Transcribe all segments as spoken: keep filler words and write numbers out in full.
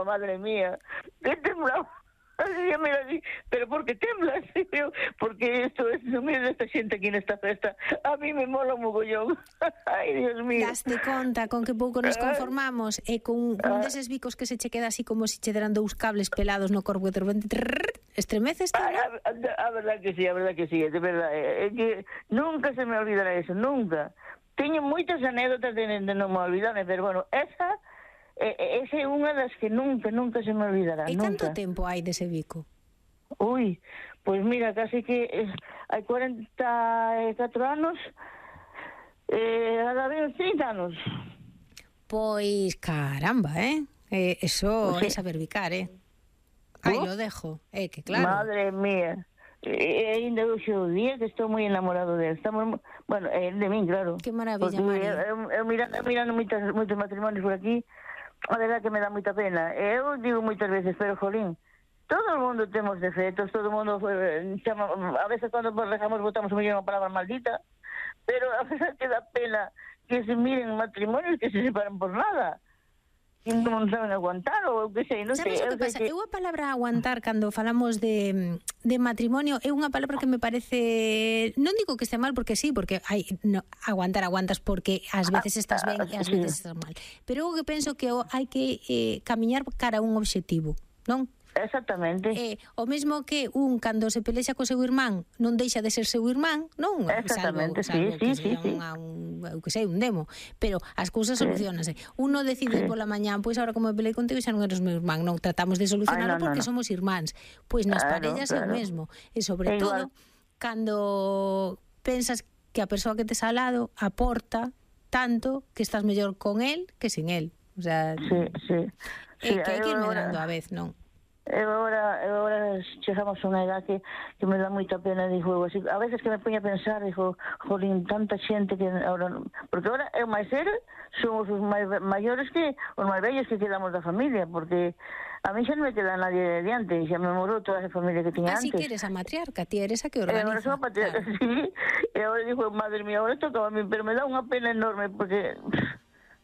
temblaba, madre mía, que temblaba. Así, mira, así, pero ¿por qué temblas? Porque esto es, mira esta xente aquí nesta festa, a mí me mola un mogollón. Ai, Dios mío. Daste conta con que pouco nos conformamos e con un deses bicos que se che queda así como se che deran dous cables pelados no corpo e de repente trrr, estremeces. Ay, a, a, a verdad que sí, a verdad que sí, de verdad, é que nunca se me olvidará eso, nunca. Teño moitas anécdotas de, de non me olvidarme, pero bueno, esa esa é unha das que nunca, nunca se me olvidará. E nunca. canto tempo hai dese bico? Ui, pois pues mira, casi que eh, hai cuarenta e catro anos, eh, agora ven trinta anos. Pois caramba, eh? eh eso pues sí. É saber bicar, eh? Aí ¿Oh? lo dejo, eh, que claro. Madre mía. E ainda hoxe o día que estou moi enamorado dele. Estamos, bueno, eh, de min, claro. Que maravilla, Mari. Mari. Eu, eu mirando, mirando moitos, moitos matrimonios por aquí, a verdade que me dá moita pena. Eu digo moitas veces, pero jolín, todo o mundo temos defectos, todo o mundo eh, chama, a veces cando rezamos botamos unha palabra maldita, pero a veces que dá pena que se miren matrimonios que se separan por nada. Que non saben aguantar ou que sei, non sei. Sabes o que pasa? Eu a palabra aguantar cando falamos de, de matrimonio é unha palabra que me parece, non digo que este mal porque sí, porque hai no, aguantar aguantas porque ás veces estás ben e ás veces estás mal. Pero eu que penso que hai que eh, camiñar cara a un obxectivo, non? Exactamente. Eh, o mesmo que un cando se pelexa co seu irmán non deixa de ser seu irmán, non? Exactamente, salvo, salvo sí, que sí, sí, sí. Unha, un, eu que sei, un demo, pero as cousas sí. solucionanse. Uno decide sí. pola mañán, pois agora como me pelei contigo xa non eres meu irmán, non, tratamos de solucionarlo Ay, no, porque no, no. somos irmáns. Pois nas claro, parellas claro. é o mesmo. E sobre é todo, igual. Cando pensas que a persoa que tes ao lado aporta tanto que estás mellor con él que sin él. O sea, sí, sí. É sí, que hai que ir ahora... medando a vez, non? Eu agora, eu agora chegamos a unha edad que, que me dá moita pena, dixo, así, a veces que me poño a pensar, dixo, jolín, tanta xente que agora, porque agora eu máis ser somos os máis maiores que os máis vellos que quedamos da familia, porque a mí xa non me queda nadie diante, xa me morou toda esa familia que tiña antes. Así que eres a matriarca, ti eres a que organiza. E agora son a matriarca, claro. Sí, e agora dixo, madre mía, agora tocaba a mí, pero me dá unha pena enorme, porque...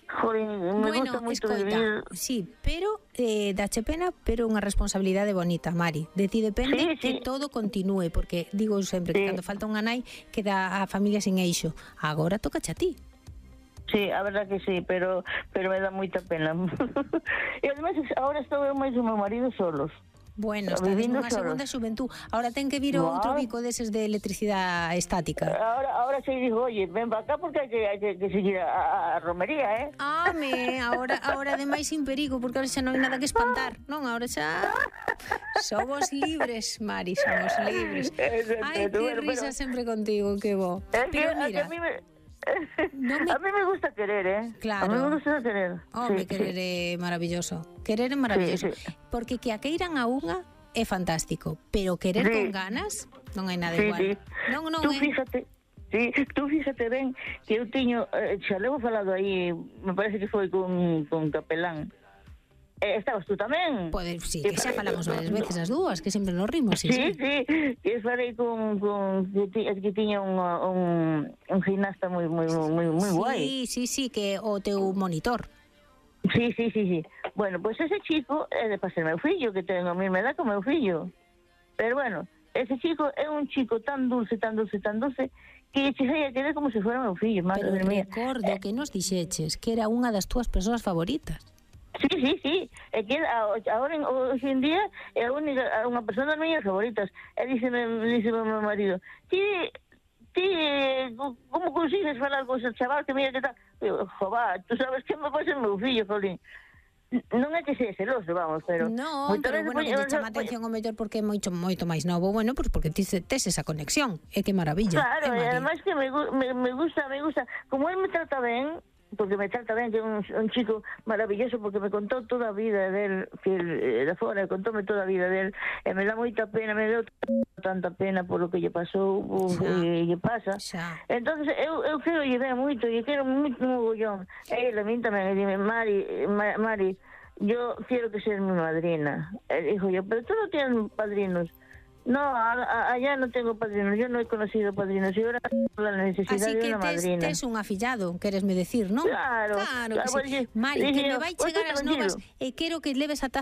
Jorín, me bueno, gusta moito escoita, vivir. Sí, pero eh, dache pena, pero unha responsabilidade bonita, Mari. De ti depende sí, que sí. todo continúe, porque digo sempre sí. que cando falta unha nai queda a familia sin eixo. Agora tocache a ti. Sí, a verdad que sí, pero pero me dá moita pena. E además agora estou eu máis o meu marido solos. Bueno, está nunha segunda xuventud. Ahora ten que vir wow. outro bico deses de electricidade estática. Ahora ahora se dijo, oye, ven para acá porque hai que, hai que, que seguir a, a romería, eh? Ah, me, ahora, ahora ademais sin perigo, porque ahora xa non hai nada que espantar, non? Ahora xa somos libres, Mari, somos libres. Ai, que bueno, risa pero... sempre contigo, que bo. Es pero que, mira... A mí me... No me... A mí me gusta querer, ¿eh? Claro. A mí me gusta querer. Home, sí, querer sí. é maravilloso. Querer é maravilloso. Sí, sí. Porque que a queiran a unha é fantástico, pero querer sí. con ganas non hai nada sí, igual. Sí. Non, non tú é. Fíjate, sí, tú fíjate ben que eu tiño, eh, xa levo falado aí, me parece que foi con, con Capelán. Eh, estabas tú tamén? Poder, sí, que xa falamos varias veces as dúas, que sempre nos rimos. Sí, sí, sí, que falei con, con que, que tiña un, un, un gimnasta moi moi moi moi sí, guai. Sí, sí, sí, que o teu monitor. Sí, sí, sí, sí. Bueno, pois pues ese chico é de pasar meu fillo, que ten a mesma edad como meu fillo. Pero bueno, ese chico é un chico tan dulce, tan dulce, tan dulce, que cheguei a querer como se fora meu fillo. Pero recordo eh, que nos dixeches que era unha das túas persoas favoritas. Sí, sí, sí, é que agora hoxe en día é a única, unha persona das miñas favoritas. E díxeme, díxeme meu marido, ti, ti, como consigues falar con ese chaval que mira que tal? Eu, jová, tú sabes que me pasa o meu fillo, jolín. Non é que sea celoso, vamos, pero... No, pero bueno, que te chama atención o mellor porque é moito, moito máis novo, bueno, pues porque tes, tes esa conexión, é que maravilla. Claro, e ademais que me, me, me gusta, me gusta, como él me trata ben, porque me trata ben, que é un, un chico maravilloso, porque me contou toda a vida del, que el, de fora, contóme toda a vida del, e me dá moita pena, me deu tanta pena por lo que lle pasou, o que lle pasa. Xa. Entonces, eu, eu quero lle ver moito, e quero moito mogollón. E ele a min tamén, e dime, Mari, Mari, yo quiero que seas mi madrina. E dijo yo, pero tú no tienes padrinos. No, a, a, allá no tengo padrinos, yo no he conocido padrinos, y ahora la necesidad así de una tes, madrina. Así que tes un afillado, queresme decir, non? Claro. Claro, claro que sí. pues, Mari, dije, que me vai chegar as novas e quero que leves a taza